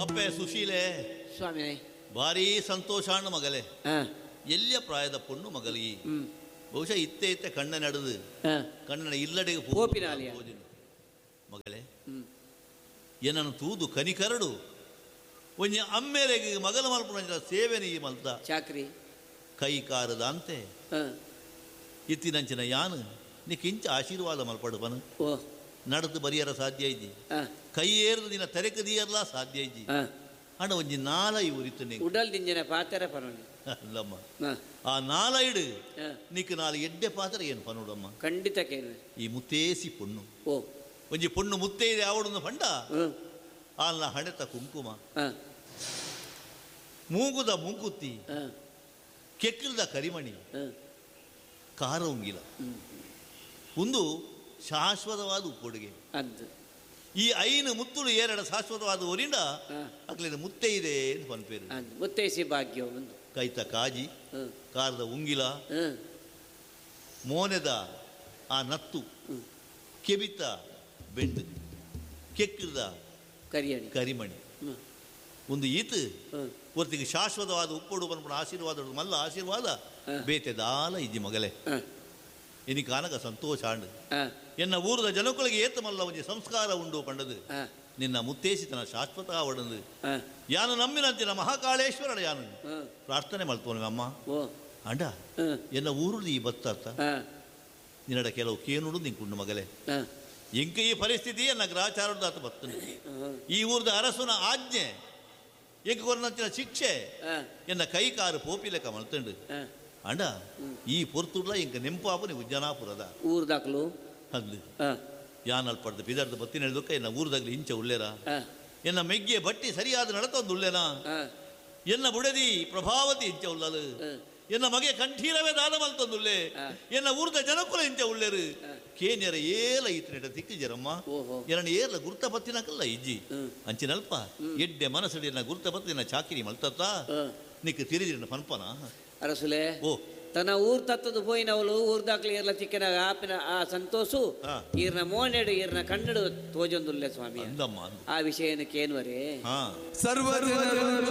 ಅಪ್ಪೆ ಸುಶೀಲೆ ಸ್ವಾಮಿ ಭಾರೀ ಸಂತೋಷಾಣ್ಣ ಮಗಲೆ. ಎಲ್ಲಿಯ ಪ್ರಾಯದ ಪೊಣ್ಣು ಮಗಲಿ ಬಹುಶಃ ಇತ್ತೆ ಇತ್ತೆ ಕಣ್ಣ ನಡೆದು ಕಣ್ಣನ ಇಲ್ಲಡೆಗೆ ಪೋಪಿನಾಲಿಯ. ಮಗಲೆ ಏನನ್ನು ತೂದು ಕನಿಕರಡು ಒಂಜಿ ಅಮ್ಮೇರೆಗೆ ಮಗಲ ಮಲ್ಪುನ ಸೇವೆನ ಈ ಮಲ್ತ ಚಾಕ್ರಿ ಕೈ ಕಾರದ ಅಂತೆ ಇತ್ತಿನಂಚಿನ ಯಾನು ನಿಕ್ಕಿಂಚ ಆಶೀರ್ವಾದ ಮಲ್ಪಡು ಪನು ನಡೆದು ಬರಿಯರ ಸಾಧ್ಯ ಇದ್ದಿ ಕೈ ಏರ್ದು ನಿನ್ನ ತೆರೆಕದಿಯರ್ಲ ಸಾಧ್ಯ ಇದ್ದಿ ಅಣ್ಣ ಒಂಜಿ ನಾಲ ಇವರು ಉಡಲ್ ದಿಂಜನ ಪಾತ್ರ ಪನೋನಿ ಅಲ್ಲಮ್ಮ ಆ ನಾಲ ಇಡು ನಿಕ್ ನಾಲ್ ಎಡ್ಡೆ ಪಾತ್ರ ಏನು ಪನೋಡಮ್ಮ ಖಂಡಿತ ಕೇಳು ಈ ಮುತ್ತೇಸಿ ಪೊಣ್ಣು ಓ ಒಂಜಿ ಪೊಣ್ಣು ಮುತ್ತೈದೆ ಆವಡೊಂದು ಪಂಡ ಆಲ್ನ ಹಣೆತ ಕುಂಕುಮ ಮೂಗುದ ಮೂಗುತ್ತಿ ಕೆಕ್ಕಲ್ದ ಕರಿಮಣಿ ಕಾರ ಉಂಗಿಲ ಒಂದು ಶಾಶ್ವತವಾದ ಉಪ್ಪೊಡುಗೆ ಈ ಐನು ಮುತ್ತುಳು ಏರಡ ಶಾಶ್ವತವಾದ ಊರಿಂದ ಅಕ್ಲಿನ ಮುತ್ತೆ ಇದೆ ಅಂತ ಪನ್ಪೇರು ಮುತ್ತೈಸಿ ಭಾಗ್ಯ ಒಂದು ಕೈತ ಕಾಜಿ ಕಾರದ ಉಂಗಿಲ ಮೋನೆದ ಆ ನತ್ತು ಕೆಬಿತ ಬೆಂಡು ಕೆಕ್ಕದ ಕರಿಯಣಿ ಕರಿಮಣಿ ಒಂದು ಈತು ಒರ್ತಿಗೆ ಶಾಶ್ವತವಾದ ಉಪ್ಪೊಡು ಪನ್ಪುನ ಆಶೀರ್ವಾದ ಮಲ್ಲ ಆಶೀರ್ವಾದ ಬೇತೆದಾಲ ಇಜ್ಜಿ ಮಗಲೆ ಇನಿ ಕಾನಕ ಸಂತೋಷ ಆಂಡು ಎನ್ನ ಊರದ ಜನಕುಳಿಗೆ ಏತ ಮಲ್ಲ ಒಂಜಿ ಸಂಸ್ಕಾರ ಉಂಡು ಪಂಡದು ನಿನ್ನ ಮುತ್ತೇಸಿತನ ಶಾಶ್ವತ ಆವಡಂದು ಯಾನು ನಂಬಿನಂತಿನ ಮಹಾಕಾಳೇಶ್ವರನ ಯಾನು ಪ್ರಾರ್ಥನೆ ಮಲ್ತೋನು ಅಮ್ಮ ಅಂಡ ಎನ್ನ ಊರುಡು ಈ ಬತ್ತ ನಿನ್ನಡ ಕೆಲವು ಕೇನುಡು ನಿಂಕುಂಡು ಮಗಲೆ ಇಂಕ ಈ ಪರಿಸ್ಥಿತಿ ಎನ್ನ ಗ್ರಹಚಾರದ ಬತ್ತನು ಈ ಊರದ ಅರಸುನ ಆಜ್ಞೆ ಎಂಕ ಕೊರನಂಚಿನ ಶಿಕ್ಷೆ ಎನ್ನ ಕೈ ಕಾರು ಪೋಪಿಲೆಕ್ಕ ಮಲ್ತಂಡು ಅಂಡ ಈ ಪೊರ್ತುಡ್ಲ ಇಂಕ ನೆಂಪಾಪು ನೀವು ಉಜ್ಜನಾಪುರದ ಊರ್ದಾಕ್ಲು ಅಂದು ಯಾನ್ ಅಲ್ಪಡ್ದು ಬಿದರ್ದ ಬತ್ತಿನ ಹೇಳ್ದಕ್ಕ ಎನ್ನ ಊರ್ದಾಗ್ಲಿ ಇಂಚ ಉಳ್ಳೇರ ಎನ್ನ ಮೆಗ್ಗೆ ಬಟ್ಟಿ ಸರಿಯಾದ ನಡತೊಂದು ಉಳ್ಳೇನಾ ಎನ್ನ ಬುಡದಿ ಪ್ರಭಾವತಿ ಇಂಚ ಉಳ್ಳಲು ಎನ್ನ ಮಗೆ ಕಂಠೀರವೇ ದಾನ ಮಲ್ತೊಂದುಳ್ಳೆ ಎನ್ನ ಊರ್ದ ಜನಕುಲ ಇಂಚ ಉಳ್ಳೇರು ಕೇನ್ಯರ ಏಲ ಈತನೆಟ ತಿಕ್ಕಿಜರಮ್ಮ ಎರಣ ಏರ್ಲ ಗುರ್ತ ಪತ್ತಿನಕಲ್ಲ ಇಜ್ಜಿ ಅಂಚಿನಲ್ಪ ಎಡ್ಡೆ ಮನಸ್ಸಡಿ ಎನ್ನ ಗುರ್ತ ಪತ್ತಿನ ಚಾಕಿರಿ ಮಲ್ತತ್ತ ನಿಕ್ ತಿರಿದಿರನ ಪನ್ಪನ ಅರಸುಲೆ ಓ ತನ್ನ ಊರ್ ತತ್ತದು ಪೋಯಿನವಳು ಊರ್ದಾಕ್ಲಿ ಇರ್ಲ ಚಿಕ್ಕನಾಗ ಆಪಿನ ಆ ಸಂತೋಷು ಈರ್ನ ಮೋನೆಡು ಈರ್ನ ಕಣ್ಣಡು ತೋಜೊಂದುಲ್ಲೆ ಸ್ವಾಮಿ ಅಂದಮ್ಮ ಆ ವಿಷಯನ ಕೇನ್ವರೇ ಹಾ ಸರ್ವ